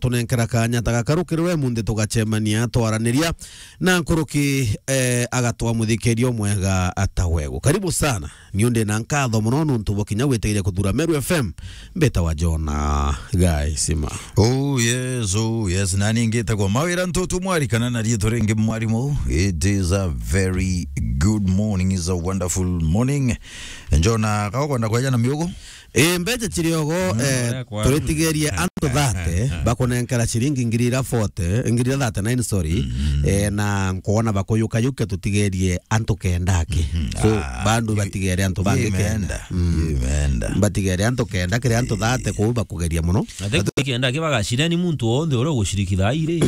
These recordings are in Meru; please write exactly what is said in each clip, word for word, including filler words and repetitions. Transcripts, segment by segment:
tunenkera kanya ta gaka rukiri we munthi tugacemania twaraniria na nkuruki, eh, agatwa muthikiria umwega ata wegu. Karibu sana. Niu ndi na nkatho mono nuntu bwa kinya gwitigiria kuthura Meru F M. Mbitawa Jona Gaisima. Oh yes, oh yes. Nani ngitagwa Mawira Ntutu Mwari kana na riitwa ringi Mwarimu. It is a very good morning, it's a wonderful morning. Jona, ka ukwenda kweja na miugo? Ii, mbeca ciri ogo, mm, eh, oria kwa- turitigerie antu thate, eh, bakunenkera ciringi ngiri ira forty, ngiri ira thirty-nine, sorry. Mm. Eh, na nkwona bakuyukayukia tutigerie antu kenda aki. Mm. So, ah, bandu i-, batigere antu bangi kenda. Imeenda. Mm. Imeenda. Batigere antu kenda, kiri antu thate kuu bakugeria mono. Na te kenda aki bagacira ni muntu wonthe uria ugucirikitha iri.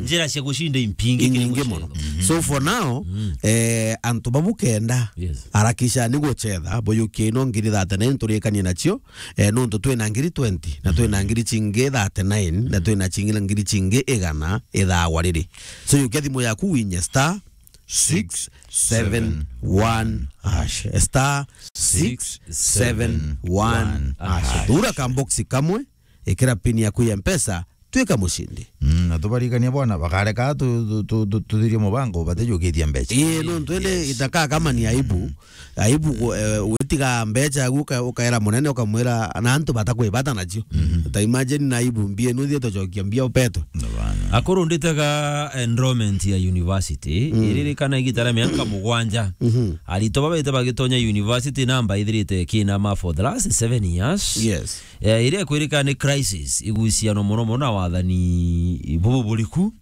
Njira cia gucinda impingi kiri inyingi mucetho mono. Mm. So, for now, mm, eh, antu babu kenda, yes, arakisha ni gucetha, buyukie ino ngiri thirty-nine turikanie nacio, eh, nontu twina ngiri twenty, na twina ngiri cingi thirty-nine, na twina cingi na ngiri cingi igana ithawa riri. So, yukia thimu yaku winye star six seven one hash. Star six seven one hash. Thura kamboksi kamwe, ikira pin yaku ya Mpesa, twika mucindi. Mm, na tubarikania bwana, bakareka tu-, tu-, tu-, tu-, tuthirie mubango, batijukitie mbeca. Ii, nontu indi, yes, itaka kama ni aibu. Aibu ku-, eh, witiga mbeca agu uka-, ukaera munene ukamwira na antu batakwibata nacio. Mm. Ta imagine na aibu mbie nuthie tucokia mbia upetwe. No bana. Akuru nditaga enrollment ya university, mm, iririkana igita ria miaka mugwanja. Mhm. Aritwa babete bagitonya university namba ithirite kinama for the last seven years. Yes. Eh, iria ikwirika ni crisis iguciano mono mono na wathani bubu buriku.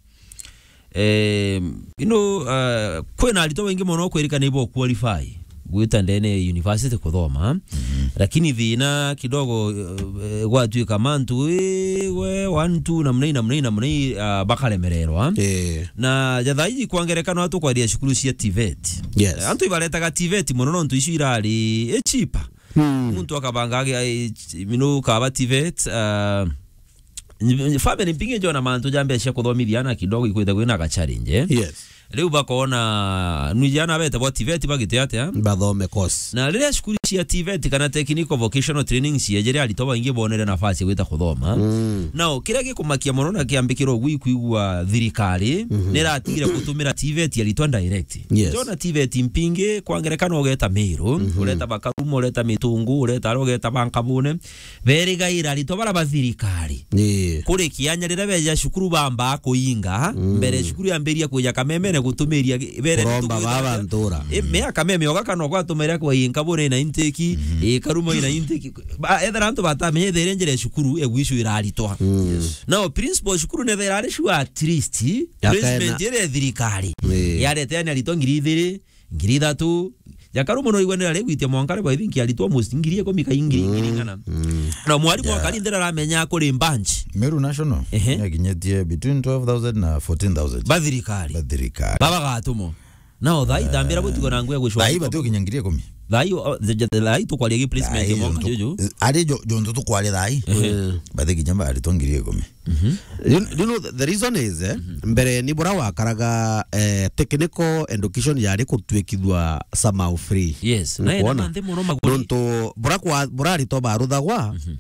Eh, you know, eh, kwina aritwa baingi mono kwirika ni bo qualify gwita ndene ya university kuthoma. Mhm. Lakini thina kidogo, eh, gwatuika mantu, eh, we, one, two, namna ii, namna ii, namna ii, ah, bakaremererwa. Eh. Na ja thaa iji kwa ngerekano atukwaria cukuru cia TVET. Yes. Eh, antu ibaretaga TVET mono nontu icio irari, eh, cheaper. Hmm. Muntu akabanga agi-, ai, ch-, mino kaba TVET, ah, ny-, family mpingi njona mantu ja mbeca cia kuthomithia ana kidogo ikwite kwina ga challenge, eh? Yes. Riu bakona, nu jana bete bo TVET bagite atia? Bathome course. Na riria cukuru cia TVET kana technical vocational training ciejere aritwa baingi bonere nafasi ya gwita kuthoma. Mm. Nao, kiria gikumakia mono na kiambikira ugu ikwigua thirikari, mhm, niratigire gutumira TVET aritwa direct. Yes. Njona TVET mpingi, kwa ngerekano ugeta Meru, mhm, ureta Bakaruma, ureta Mitungu, ureta aria ugeta Bankabune, berigaira aritwa bara ba thirikari. Ii. Kuri kianya riria beja cukuru bambaa kuinga, mm, mbere cukuru yambiria kuja Kamemene gutumiria gi-, bere kuromba baba ntura. I, mm, mea Kameme oga kana kwa tumiria kwa inka bure na inteki, mhm, i Karuma ina inteki. Ba, ethera antu batamenya ethere njira ya cukuru egwicwira aritwa. Mm. Yes. Nao principal cukuru nethera ari sure at least placement iria ya thirikari. Ii. Yarete yani aritwa ngiri ithiri, ngiri ithatu. Jakaru mono igwe nira rigwitia mwanka ribo, I think aritwa almost ngiri ikumi ka ngiri, ngiri, mm, ngana. Mm. Na mwarimu, yeah, akari ndira aramenya kuri bunch. Meru National, ehe, yakinyetie between twelve thousand na fourteen thousand. Ba thirikari. Ba thirikari. Baba gatumo. Nao thaa itambira gutigwa na ngwe gucwa. Thaa ii bati ukinya ngiri ikumi. Thaa ii, o, the, the, thaa ii tukwaria gi placement ya mwanka juju. Ari jo, jo ntu tukwaria thaa ii. Ehe. Bati kinya ba aritwa ngiri ikumi. Mhm. You, you know, the, the reason is, eh, mhm, mbere ni bura wakaraga, eh, technical education yari kutwikithua somehow free. Yes, na ena nkuona? Manthe mono maguri. Nontu bura kwa, bura aritwa baruthagwa, mhm,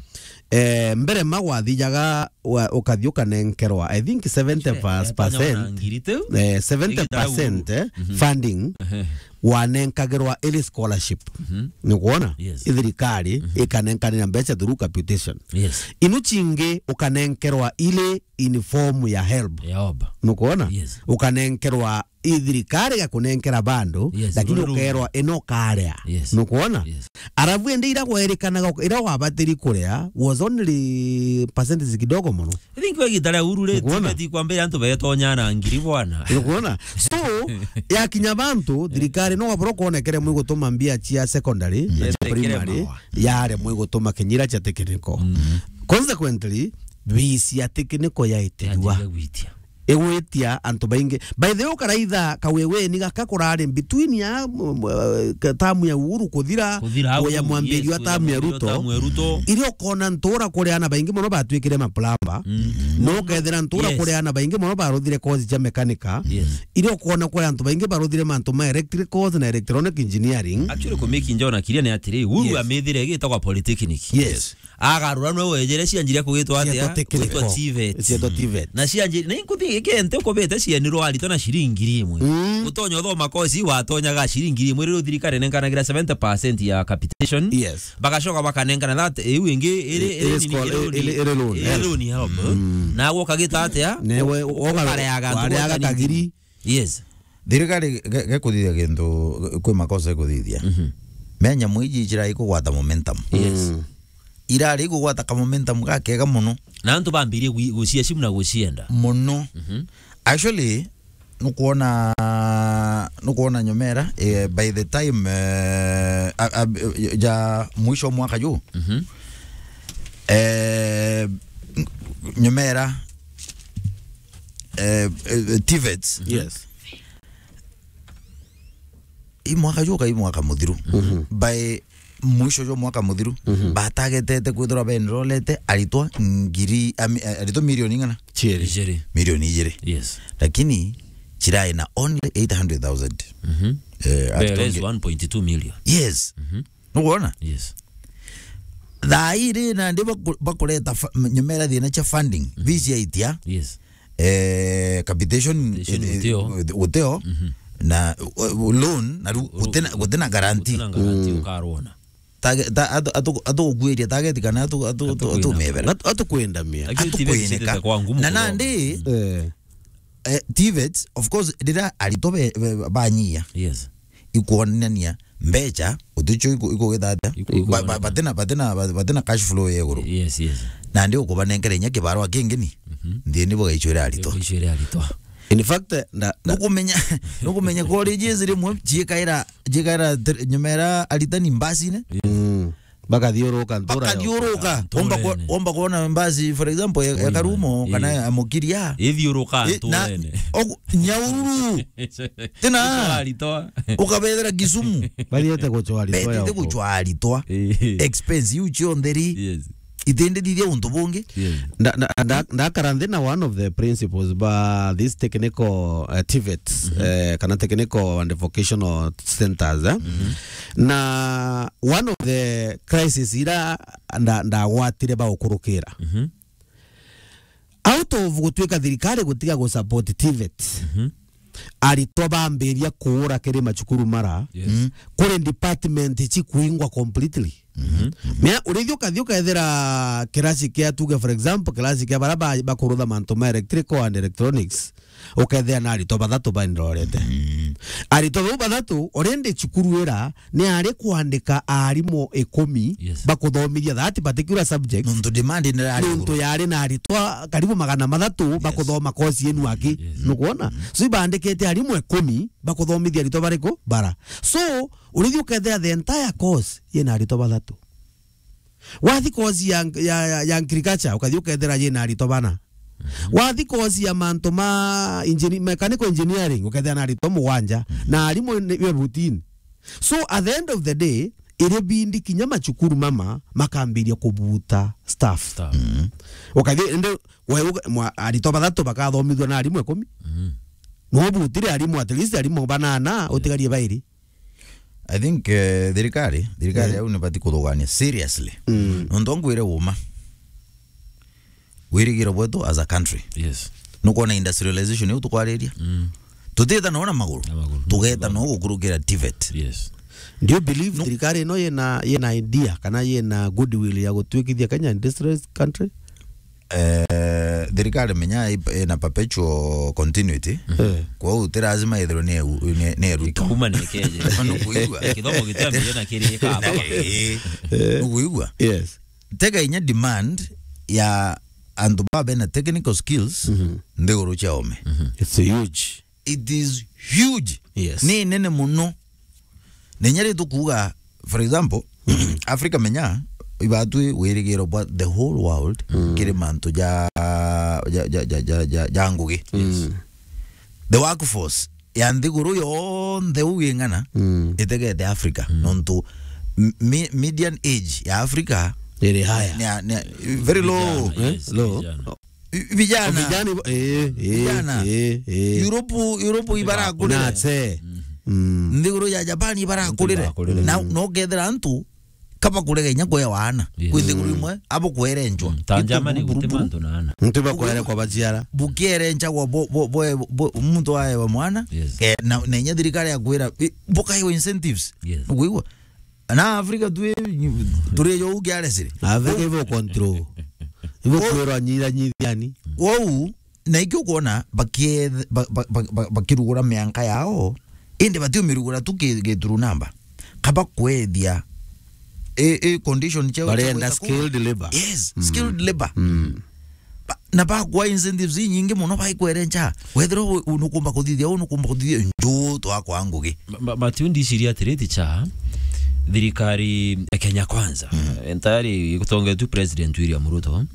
eh, mbere magwathijaga wa, ukathi ukanenkerwa, I think seventy percent, eh, eh, seventy percent, eh, mhm, funding, ehe, wanenkagirwa ili scholarship. Mhm. Ni kuona? Yes. I thirikari, mhm, ikanenkanira mbeca through capitation. Yes. Inu cingi ukanenkerwa ili in form ya help. Ya help. Nukuona? Yes. Ukanenkerwa i thirikari gakunenkera bando, yes, lakini rururu ukerwa ino karea. Yes. Nukuona? Yes. Arabu ende ira gwerikanaga ira wabatiri kuria was only percentage kidogo mono. I think we gitara uru ri, nukuona? Tibeti kwambira antu betonya na ngiri bwana. Nukuona? So, yakinya bantu, thirikari no wabura kuonekere mwi gutuma mbia cia secondary, na cia primary, yare mwi gutuma kinyira cia technical. Mm. Consequently, bisi ya technical yaitirua. Yatiga gwitia. Igwitia antu baingi. By the way, ukaraitha kaweweni gaka kurari between ya, m-, m-, ka-, tamu ya Uhuru kuthira, kuthira kuya au, mwambirio yes, wa tamu ya Ruto. Tamu ya Ruto. Irio ukona ntura kuri ana baingi mono batwikire maplamba. Mm. No ukethira ntura, yes, kuri ana baingi mono baruthire course cia mekanika. Yes. Irio ukona kuri antu baingi baruthire mantu ma electricals na electronic engineering. Actually, kumiki njona kiria ni atiri, Uhuru, yes, amithire igitagwa polytechnic. Yes. Agarura nwe wejere cianjiria kugitwa atia? Cietwa technical. Gwitwa TVET. Cietwa TVET. Na cianji-, na inkuthi ikente ukubite cienirwo aritwa na ciringi ngiri imwe. Mm. Utonya uthoma kosi watonyaga ciringi ngiri imwe, riu thirikari nenkanagira seventy percent ya capitation. Yes. Bagacoka bakanengana that, iu ingi iri, iri, iri, iri loan. Iri, iri loan, iri yes. Loan help. Mm. Na gwo kagita atia? Newe, woga-, ukareaga antu wareaga kagiri. Yes. Thirikari ge-, gekuthithia kintu, kwi makosa ikuthithia. Mhm. Me nyamu iji cirai kugwata momentum. Yes. Mm. Irari kugwata ka momentum gakega muno. Na antu bambirie gwi-, gucia simu na gucienda. Muno. Mhm. Actually, nukwona, nukwona nyomera, eh, by the time, eh, a, a, ja mwisho wa mwaka juu, mhm. Eh, nyomera, eh, eh, TVETs. Yes. I mwaka juu ka i mwaka muthiru. Mhm. By mwisho jwa mwaka muthiru, mhm, batagetete kwithirwa benrolete aritwa ngiri, ami-, eh, aritwa milioni ing'ana? Ciiri. Ijiri. Milioni ijiri. Yes. Lakini cirai na only eight hundred thousand. Mhm. Eh, that is atonge- one point two million. Yes. Mhm. Nukwona? Yes. Thaa ii ri nandi baku-, bakureta fa-, m-, nyumera thina cia funding, mhm, visa itia. Yes. Eh, capitation, capitation eh, utio. Ut-, utio. Mhm. Na, uh, loan, na ru-, ru-, gutina, gutina guarantee. Gutina guarantee, mm, ukarwona. Tage-, ta-, atu-, atu-, atugukuiria target kana atu-, atu-, atu-, atukwindamia. Atumebera. Atu-, atukwindamia. Lakini TVET atukwineka. Ititetete kwa ngumu. Na kurwona. Nandi, mm, eh, eh, TVETs, of course, rira aritwa be-, be-, banyia. Yes. Ikwonania mbeca, uticho iku-, ikugitha atia? Iku-, ba-, ba-, ikwoneka. Batina, batina, ba-, batina cash flow ya iguru. Yes, yes. Nandi ukubanenkera inya kibarua kingi ni? Mhm. Nthini bugaicwira aritwa. Bugaicwira aritwa. In fact, nda-, nda- nukumenya, nukumenya colleges rimwe ciikaira, ciikaira tr-, nyumera aritani mbasine. Mm. Bakathiuruka ntura bakathiuruka. Ntura. Omba ku-, nturene. Omba kuona mbasi, for example, ya, ya Karumo, kana ya Mukiria. Ithiuruka nturene. Ogu-, Nyahururu. Tina. Aritwa. Ukabethera Kisumu. Bathiete gucwa aritwa. Betite gucwa aritwa. Eh. Expense iu cionthe ri. Yes. Itindithithia untu bungi. Yes. Nda-, nda-, nda-, ndakara nthi na one of the principals ba these technical, uh, TVETs, mhm, eh, kana technical and vocational centers, eh? Mhm. Na one of the crisis ira nda-, ndagwatire ba gukurukira. Mhm. Out of gutuika thirikari gutiga gu support TVET, mhm, aritwa bambiria kuura kiri macukuru mara, yes, mm, kuri department cikuingwa completely. Mhm. Mea, urithia ukathia ukethira kirasi kia, tuge for example, kirasi kia bara ba-, bakurutha mantu ma electrical and electronics, ukethira na aritwa bathatu baendorete. Mm. Aritwa bau bathatu, already cukuru ira ni ari kwandika arimu ikumi, yes, bakuthomithia that particular subject. Nontu demand ni ari iguru. Nontu yari na aritwa karibu magana mathatu, yes, bakuthoma course yenu aki. Yes. Nukwona? Mm. So, ibandikite arimu ikumi bakuthomithia aritwa bariku? Bara. So, urithia ukethira the entire course yina aritwa bathatu. Wathi course ya, ya, ya, ya agriculture, ukathi ukethira yina aritwa bana. Mhm. Wathi course ya mantu ma engineer-, mechanical engineering, ukethira na aritwa mugwanja, mhm, na arimu ni, ni routine. So, at the end of the day, iri bindi kinya macukuru mama makambiria kubuta staff. Staff. Mhm. Ukathi, ende, we, uka-, mwa-, aritwa bathatu bakathomithua na arimu ikumi. Mhm. No butire arimu, at least arimu banana, yeah, utigarie bairi. I think, eh, thirikari, thirikari, eh, au nibati kuthugania seriously. Mm. Nontu ngwire uma. Wirigiro bwetu as a country. Yes. Nukwona industrialization iu tukwariria? Mm. Tutita no na maguru. Na maguru. Tugeta no gukurukira TVET. Yes. Do you believe, no, thirikari ino yina, yina idea kana yina goodwill ya gutwikithia Kenya industrialized country? Eh, thirikari menya i-, ina perpetual continuity. Eh. Kwou ti lazima ithirwe ni eu-, ni, ni eruta. Ikuma ni keje. Nukuigua? Kithomo gitiambire na kiri ikaba. Eh. Nukuigua? Yes. Tega inya demand ya antu ba bena technical skills, mhm, nthiguru cia ome. Mhm. It's huge. It is huge. Yes. Ni nene muno. Na inya ri tukuuga, for example, Africa menya, ibatwi wirigiro bwa the whole world, mm, kiri mantu ja, ja, ja ngugi. Yes. Mm. The workforce ya nthiguru yonthe uu ing'ana, mm, itegete Africa. Mm. Nontu m-, mi-, median age ya Africa iri higher. Ni a-, ni a-, very low. Vijana, eh? Yes, low. Vijana. I-, vijana. Vijana, eh, eh, vijana. Eh, eh. Europe, Europe ibarakurire. Natse. Mm. Nthiguru ya Japan ibarakurire. Ibarakurire. Na, mm, no kethira antu kaba kurega inya kwewa ana. Yes. Kwi nthiguru imwe, abo kwerenjwa. Mm, ta Germany guti mantu na ana. Ntiba kwere kwa baciara. Bukierenjagwa bo, bo, bo, bo, muntu aewa mwana, yes, ke, na, na inya thirikari ya kwira, i, bukaiwa incentives. Yes. Nukwigua? Na Africa tu, turi jo ugiaresire. Africa ibo control. Ibo kwirwa nyira nyithiani. Wou, na ikio kwona bakie-, ba-, ba-, ba-, ba-, bakirugura mianka yao, indi batiumirugura tu ki-, gituru namba. Kaba kwethia, i, i condition ciao. Barenda cia gwita kuu. Skilled labor. Yes, mm, skilled labor. Mm. Ba-, na bakwa incentives inyingi muno baikwerenja. Wethira u-, u-, nukumba kuthithia, u nukumba kuthithia, nju twakwa ngugi. Ma-, ma-, Matiu ndiciria atiri, ticha, thirikari ya Kenya Kwanza, mm, entirely igutongetwe President William Ruto,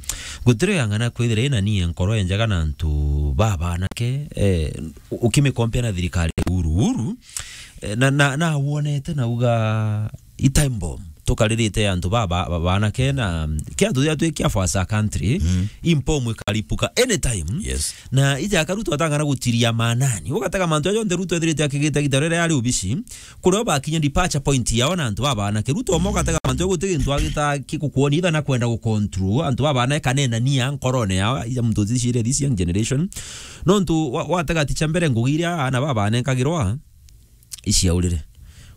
gutiri yang'ana kwithira ina nie nkoro enjega na antu babanake, eh, u-, ukimikompea na thirikari ya Uhuru. Uhuru, eh, na, na, na wonete na uga i time bomb. Tukaririte antu ba, ba, ba, banake na kia tuthia twi kia for a country, mm, impomu ikaripuka anytime. Yes. Na ija ka Ruto atang'ana gutiria manani. Ugatega mantu ajo nthe Ruto ethirite akigita gita rere ari ubici. Kurio bakinya departure point yao na antu ba banake. Ruto omo ugatega mantu ajo guti gintu agita kikukuoni itha na kwenda gu control antu ba banake kanena nia nkorone yao. Ija muntu ucicire this young generation. Nontu wa, watega ticha mbere ngugi iria ana ba banekagirwa iciaurire.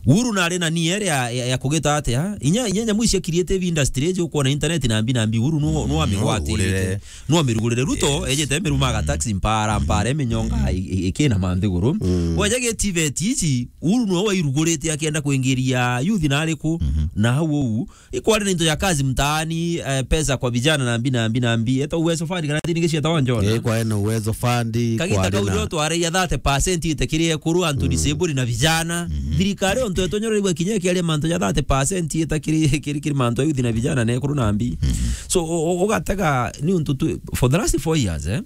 Uhuru nari na nia iri ya, ya, ya kugita atia? Inya, inya nyamu icia creative industry iji ukwona internet na mbi na mbi, Uhuru nu, nu amigwatire. Nu amirugurire. Ruto, yes, ejete miruma aga taxi mpara, mpara, iminyonga, i, i, ikina manthiguru. Mm. Weja gi TVET ici, Uhuru nu wairugurite akienda kuingiria youth na ariku, mhm, na hau uu, ikwari na into ya kazi mtaani, eh, pesa kwa vijana na mbi na mbi na mbi. Eta Uwezo Fund, kana tini gicieta wa Njona. Eh, kwa ena Uwezo Fund, kagita kau na rio twareia thirty percent ite kiri ekuru, antu, mm, disabled na vijana. Mhm. Thirikari ontu etonyorerigwa kinya kiaria mantu ja thirty percent ita kiri, kiri, kiri mantu ya youth na vijana na ekuru na mbi. Mhm. So, u-, u-, ugatega ni untu tu, for the last four years, eh,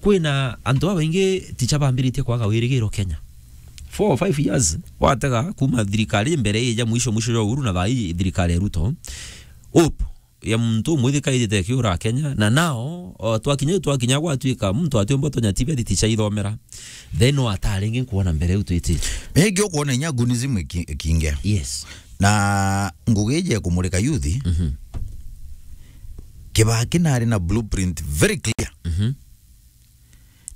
kwina antu babaingi ticha bambiritie kwaga wirigiro Kenya. Four or five years, watega kuma thirikari mbere ija mwisho, mwisho jwa Uhuru na thaa ii thirikari ya Ruto, hope ya muntu umwe ithikaitite ikiura Kenya, na nao, o, twakinya, twakinya gwatuika muntu atiumba tonya TVET ticha ithomera, then no ataringi nkuona mbere u twitite. Ingi ukwona inya gunism iki-, ikingia. Yes. Na ngugi ije kumurika youth, mhm, Kibaki nari na blueprint very clear. Mhm.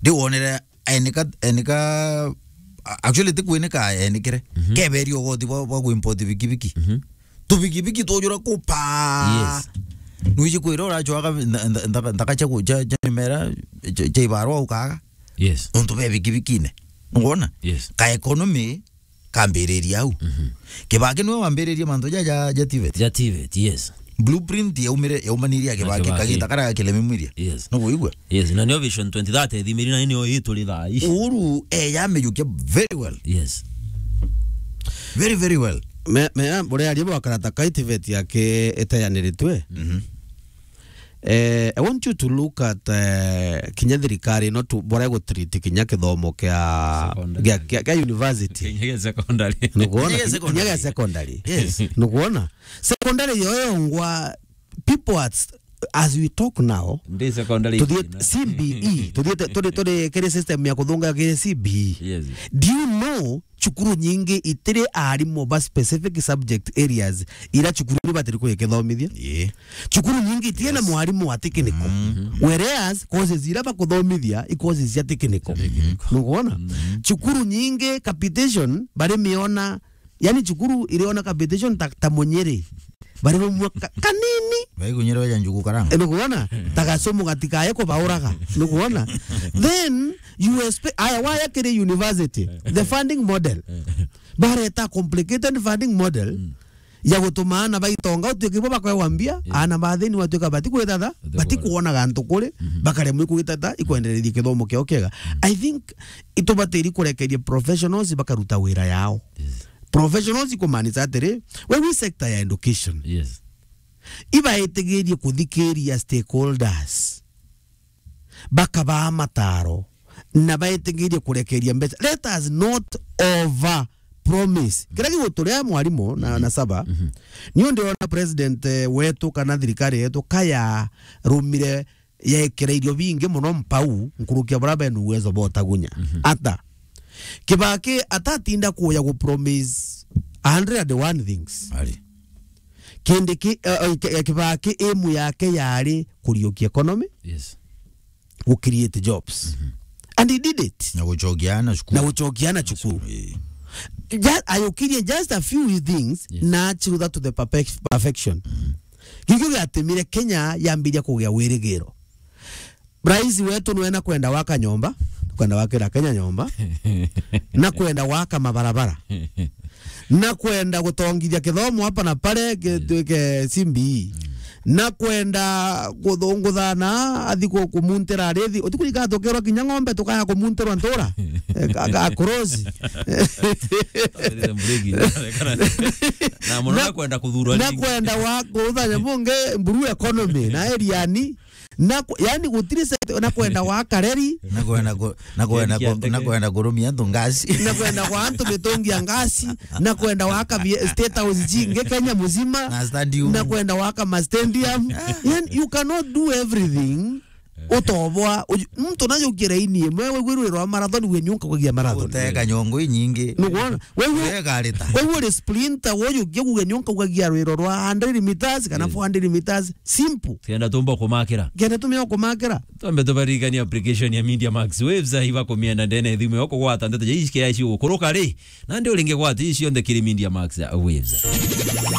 Ndiwonere enika, enika, a-, actually, ti kwinika enikire. Mhm. Keberia ugoti bwa, bwa kuimport bikibiki. Mhm. Tubikibiki twojura kupa. Yes. Nwiji kwira uracwaga ntha-, ntha-, ntha-, nthaka cia ku-, cia, cia mimera, cia, cia ibarwa ukaga. Yes. Nontu be bikibikine. Ngwona? Yes. Ka economy kambiriria au. Mhm. Kibaki niwe wambiririe mantu ja, ja, ja TVET. Ja TVET, yes. Blueprint yaumire, yaumanirie ya Kibaki, Kibaki, kaginda karia ga Kilemi Mwiria. Yes. No kuigua? Yes, na nio Vision twenty thirty ithimiri na nio ituri thaa ici. Uhuru, eh, yamiyukia very well. Yes. Very, very well. Me, me, buria aria bwakarata kai TVET yake itayaniritwe. Mhm. Eh, I want you to look at, eh, kinya thirikari ino tu, boria gutreat kinya kithomo kia, secondary, kia, kia, kia university. Kinya gia secondary. Nukuona? Kinya gia secondary. Kinya gia secondary. Yes. Nukuona? Secondary yo yongwa, people at, as we talk now, ndi secondary tuthie ina. C B E, tuthiete, turi, turi kiri system ya kuthunga kiri C B E. Yes. Do you know cukuru nyingi itiri arimu ba specific subject areas ira cukuru ni batiri kwikithomithia. Ii. Cukuru nyingi itiri na, yes, mwarimu wa technical. Mm. Whereas courses ira bakuthomithia i courses cia technical. Technical. Nukuona? Mm. Cukuru nyingi capitation bari miona, yani cukuru iriona capitation ta, ta munyiri. Bari bumwe ka-, kanini. Baigunyirwa ja njugu karanga. Eh, nukuona? Ta gacumu gatikaye kubauraga. Nukuona? Then, U S P, aya, waya kiri university, the funding model. Bareta complicated funding model, mm, ya gutuma ana baitonga utuike bo bakwewa mbia, yeah, ana bathini watuika bati kwithatha, bati kuona gantu kuri, mhm, bakaremwa ikwitata, ikwenderethia kithomo kiao kiega. Mm. I think itubatiri kurekeria professionals bakaruta wira yao. Yes. Professionals ikumanisha atiri, we wi sector ya education. Yes. Ibaitigirie kuthikiria stakeholders, bakabaa mataro, na baitigirie kurekeria mbeca. Let us not over promise. Kiria giguturia mwarimu na, mhm, na Saba, mhm, niu ndirona president, eh, wetu kana thirikari yetu kaya rumire yekira irio bingi muno mpau nkuruki ya baria bena uwezo botagunya. Mhm. Ata? Kibaki atatinda kuya gu promise a hundred and one things. Ari. Kindiki, eh, eh, Ki-, eh, Kibaki aim yake yari kuriukia economy, Yes. gu create jobs. And he did it. Na gucokia ana cukuru. Na gucokia ana cukuru. Eh. Ju-, ayukirie just a few things, Yes. na achiru that to the perfec-, perfection. Gikio giatumire Kenya yambiria kugia wirigiro. Rais wetu nwe na kwenda waka nyomba, kwenda wakira Kenya nyomba, na kwenda waka mabarabara, na kwenda gutongithia kithomo hapa na pale gitwike C B E, na kwenda guthunguthana athi ku-, kumuntira arithi, utikuriga tukerwa kinya ng'ombe tukaya kumuntirwa ntura, eh, ka-, ka-, kurosi. Na muno na kwenda kuthurwa na ringi. Kwenda wa kuthanya mungi blue economy na eriani, na ku-, yani gutiri se-, na kwenda wa kareri, Na kwenda ku-, na kwenda ku-, Kiandeke. Na kwenda kurumia antu ngasi. Na kwenda kwa antu mitungi ya ngasi, na kwenda waka bi-, State House jingi Kenya muzima, Na stadium. Na kwenda waka ma stadium. Yani, you cannot do everything. Utobwa, uju-, muntu najukire ini imwe, we gwirwirwa marathon, we nyunka kugia marathon. Uteka nyongo inyingi. Nukwona? Wewe, Wewe garita. Wewe uri sprinter, woyukia kuga nyonka ugagia rwiro rwa hundred meters kana Yes. four hundred meters. Simple. Kenda tumba kumakira. Kenda tumia kumakira. Twambe tubaririkania application ya Media Max Waves, iba kumienda ndene thimu yoko gwata ndeto ja ici kia ici gukuruka ri. Nandi uringe gwata ici cionthe kiri Media Max Waves.